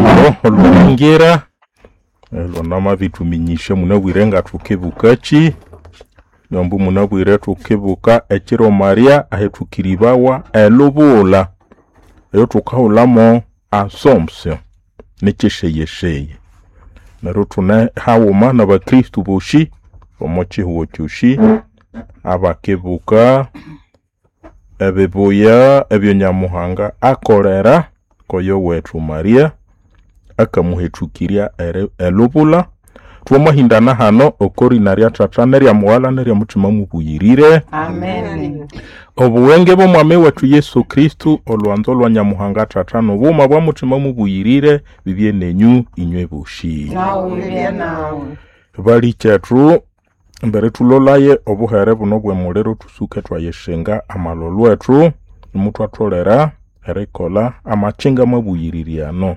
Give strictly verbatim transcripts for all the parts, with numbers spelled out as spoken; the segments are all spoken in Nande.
Olwimbo olwingira lwanamabithuminyisya munabwire ngathukibukakyi, nombu munabwire thukibuka ekiro Maria ahethukiribawa elubula eyothukahulhamo Assumption nikyisheghesheghye. Neryo ithune haghuma nabakristo bosi omo kihugho kyosi abakibuka ebibuya ebya Nyamuhanga akolera koyo wethu Maria akamuhethukirya eri- elubula. Twamahindana hano okorina rya Thatha nerya Mughalha nerya Muthima Mubuyirire. Amen. Obuwenge bw'Omwami wethu Yesu Kristo, olwanzo lwa Nyamuhanga Thatha n'obughuma bwa Muthima Mubuyirire bibye nenyu inywe bosi. Nawe ibye nawe. Balikyethu mbere thulolaye obuhere buno bw'emuliro thusuke thwayishinga amalholho ethu nimuthwatholera erikolha amakyinga mabuyirire ano.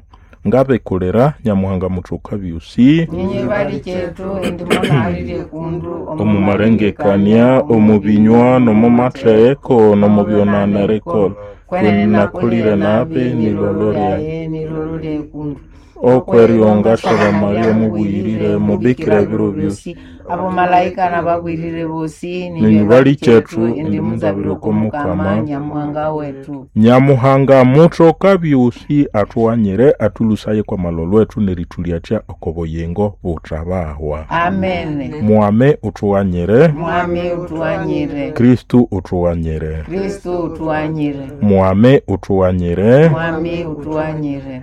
Ngabikulira Nyamuhanga muthoka byosi Ninyi balikyethu indi munalire kundu omu malengekania, omu binywa, n'omu matheko, n'omu byonana erikolha. Kwenene Nakulire nabi nilolo lyaye. lyaye nilolo lyekundu Okweriyonga saba Maria mubuyirire mubikira ebiro byosi. Abo malaika nabagwirire bosi Ninyi balikyethu indi muzabire okw'Omukama. Mukama Nyamuhanga wetu. Nyamuhanga muthoka byosi athughanyire athulhusaye kw'amalholho ethu nerithulyatya oko buyingo buthabahwa. Amen. Mwame uthughanyire, Mwami utuwanyire. Kristo uthughanyire. Kristo utuwanyire. Mwame uthughanyire, Mwami utuwanyire.